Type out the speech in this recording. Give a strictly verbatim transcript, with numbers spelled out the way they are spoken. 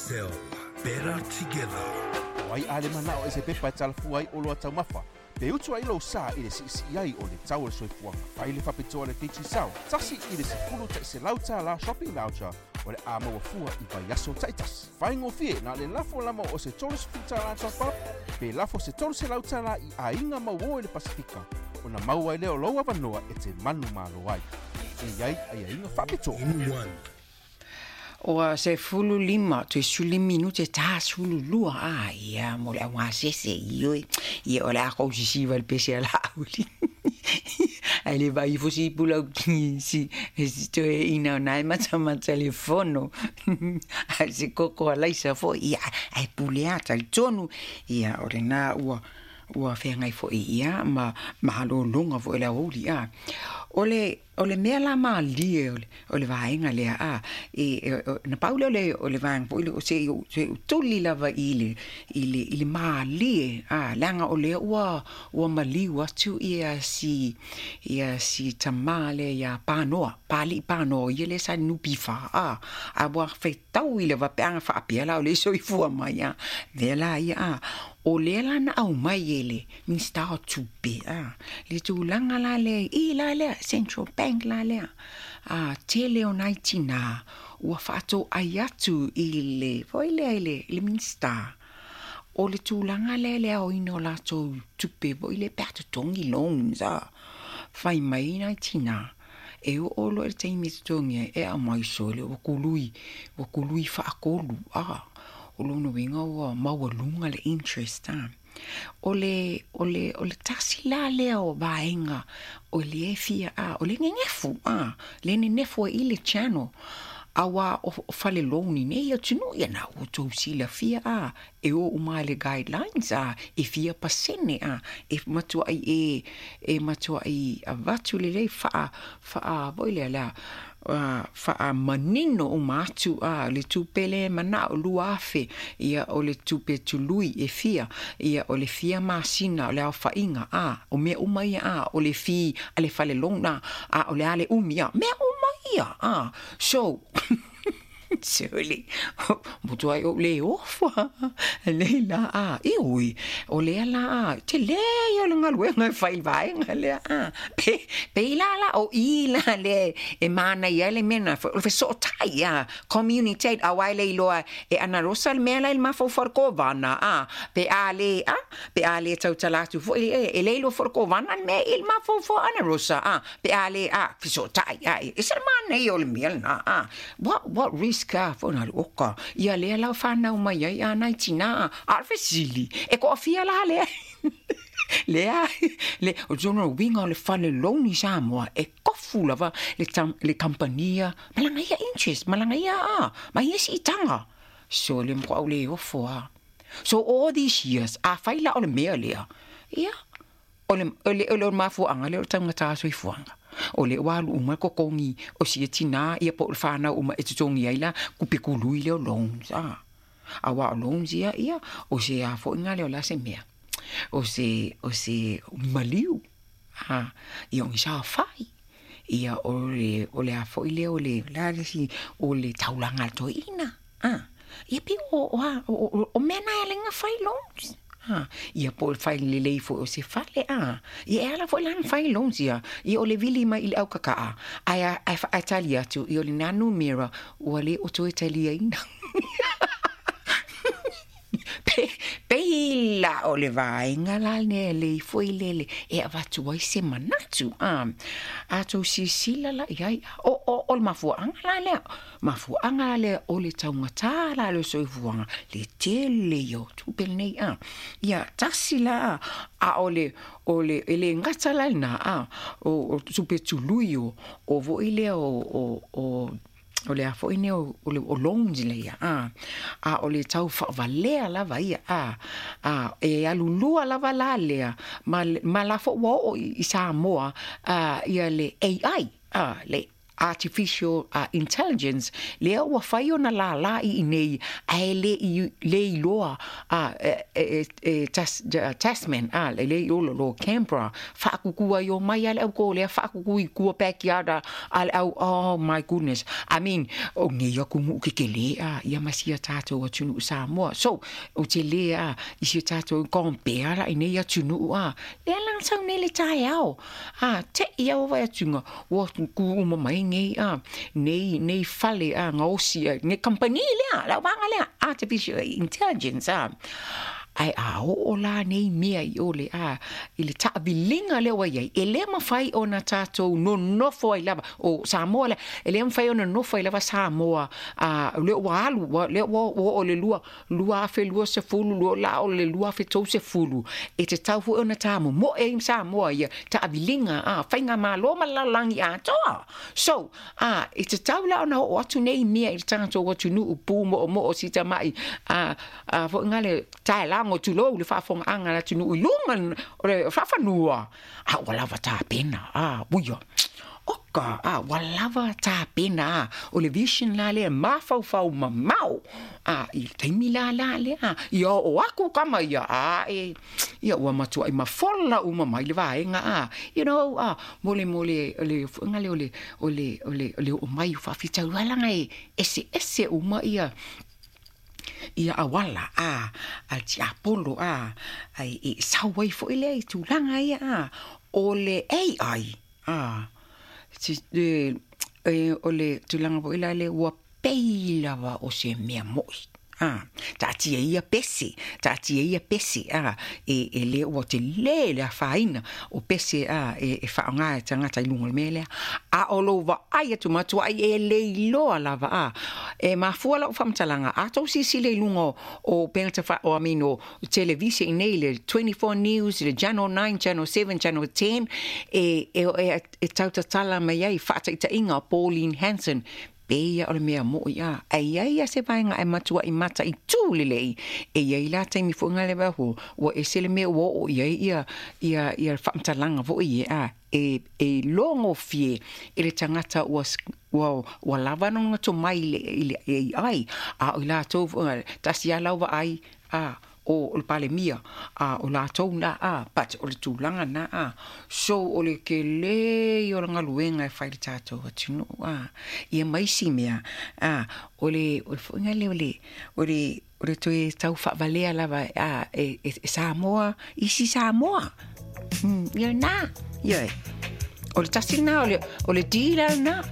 Digicel. Better together. O ai a le manao e se pepa e talafua ai o loa taumafa. Pe utu ai lou sa i le siisii ai o le tau o le soifuaga. Fai le faapitoa le Digicel. Tasi i le sefulu ta'iselau tālā shopping voucher o le a maua fua i vaiaso ta'itasi. Faigofie na le lafo lama o se tolu sefulu tālā top up, pe lafo se tolu selau tālā i aiga mauō i le Pasifika. Ona maua ai lea o lou avanoa e te manumalo ai. E iai aiaiga faapitoa. In one. Ua sefulu lima toe sefulu minute ta sefulu lua a ia mo le augasese ioe. Ia, o le a kou sisiva le pese a laauli ae le vai ifo si pulau si si toe ina o nae matamata le fono ae se koko alaisa fo'i ia ae pule a talitonu ia o lenā ua ua feagai fo'i ia ma malōlōga fo'i le aoauli a. O le o le mea la malie o le o le vaega lea a e na pau lea o le o le vaega fo'i o se se tuli lava i le i le i le malie a leaga o lea ua ua maliu atu ia si ia si tamā lea iā Panoa Pali'i Panoa ia lea sa le N P F a a ua fetau i le vapeaga faapea la o le soifua mai a lea la ia a o lea la na aumai e le Minista o Tupe a le tulaga la lea i la lea Central Bank la lea a tele o nai tinā ua faatoai atu i le foi lea i le i le Minista o le tulaga lea le aoina o latou tupe foi le pe a totogi loans a fai mai nai tinā e oo loa i le taimi e totogi ai e aumai sole ua kului ua kului faatolu a o lona uiga ua maualuga le interest a. O le o le o le tasi la lea o vaega o le fia a o le gegefu a le nenefu ai i le channel auā o fale loan i nei atunuu ia na ua outou silafia a e o uma i le guidelines a e fia pasene a e matuai e e matuai avatu lelei faa faa foi lea lea faamanino uma atu a le tupe le manao lua afe ia o le tupe tului e fia ia o le fia masina o le aofaiga a o mea uma ia a o le fee a le fale loan a a o le a le umi a mea uma ia a. So sole matuai ou le ofa lei la a ioe o lea la a telē ia o le galuega e fai i le vaega lea a pe pei la la o i la le e manaia ai le mea na o le fesootai a communicate auā e le iloa e analosa le mea la i le mafaufau o le kovana a pe a le a pe a le tautala atu fo'i e le iloa fo'i le kovana le mea i le mafaufau o analosa a pe a le a fesootai a e se le manaia o le mea lenā a. what what risk a fo'i na le oka ia lea la fanau mai ai a nai tinā a o le fesili e toafia la lea lea le o tona uiga o le fale loan i Samoa e kofu lava le tam, le kampania malaga ia interest malaga ia a ma ia siitaga so le matua'u le ofo a. So all these years a fai la o le mea lea ia o le o le o le mafuaaga lea o le taugata soifuaga o le ua alu uma le totogi o sia tinā ia po o le fanau uma e totogi ai la tupe kului lea o loans a auā o loans ia ia o se a fo'iga lea o le a se mea o se o se maliu a ia o ni saofai ia o le o le a fo'i lea o le la le isi o le taulaga a le toeaina a ia pei o o a o o mea na e ala ai ona fai loans a ia po o le fai lelei foi o se fale a ia e ala foi la ona fai loans ia ia o le vili mai i le aukaka'a ae ae faatali atu ia o lenā numera ua lē o toe taliaina pe pei la o le vaega la lenei lei foi lele e avatu ai se manatu a a tou silasila la i ai o o o le mafuaaga la lea mafuaaga la lea o le taugatā la le soifuaga le tele ia o tupe lenei a ia tasi la a o le o le e le gata la lenā a o o tupe tului o o foi lea o o o o le a foi nei o le o loans lea a a o le tau faavalea lava ia a a e alulua lava la lea ma ma la fo'i ua oo i Samoa a ia le A I a le artificial uh, intelligence lea ua fai ona lālā i inei ae le i le iloa a e, e, e, tas, Tasman a le le iolo lo Canberra faakukua i o mai a le au ko lea faakuku i kua backyard a le au. Oh my goodness, I mean, o nei aku ke ke le a ia masia tātou atunuu Samoa. So o te le a i si tātou compare la i nei atunuu a lea la sau nei le taeao a te ia o vai atunga ua ku uma mai nei a nei nei fale a ngaosi a nei company lea la wanga lea artificial intelligence a ai a o la nei mea i ole a i le taaviliga lea ua iai e lē mafai ona tatou nonofo ai lava o Samoa lea e lē mafai ona nofo ai lava Samoa a lea ua alu lea ua oo le lua lua afe lua sefulu lua la o le lua afe tou sefulu e tatau foi ona tamomo'e ai Samoa ia taaviliga a faigamālō ma le lalolagi atoa. So a e tatau la ona oo atu nei mea i le tatou atunuu pu mo'omo'o sitama'i a a fo'iga le taelago tulou le faafogaaga le atunuu i luga o le faafanua a ua lava tapena a uia oka a ua lava tapena a o le vision la lea mafaufau mamao a i le taimi lala lea ia oo aku kama ia a e ia ua matuaʻi mafola uma mai le vaega a you know a mo le mo le le foʻiga lea o le o le o le o le oo mai o faafitaulaga e eseese uma ia ia auala a a tiapolo a ai e sau ai foʻi lea i tulaga ia a o le A I a si e, e, o le tulaga foʻi la le ua pei lava o se mea moʻi a taatia ia pese taatia ia pese a e, e le ua te lē le afaina o pese a e, e faaaogā e tagata i luga o le mea lea a o lou vaai atu matuai e le iloa lava a e mafua lau faamatalaga a tou silasila i luga o pegata fa o amino televise i nei le twenty-four News, le Channel nine, Channel seven, Channel ten e, e, e, e tautatala mai ai faataitaiga Pauline Hanson pe ia o le mea moʻi a ai ai ia se vaega e matua i mata i tū lelei e iai la taimi foʻiga le vaho ua ese le mea ua oo i ai ia ia ia faamatalaga foʻi e a e e logofie i le tagata ua ua ua lava nona tomai i le i le A I a o i latou foʻiga tasi a lau vaai a o le palemia a o latou na a but o le tulaga na a so o le kelē o le galuega e fai le tatou atunuu a ia maisi mea a o le o le foʻiga lea o le o le o le toe tau faavalea lava a e, e, e Samoa isi Samoa mm, ia na ia o le tasi na o le o le dila na.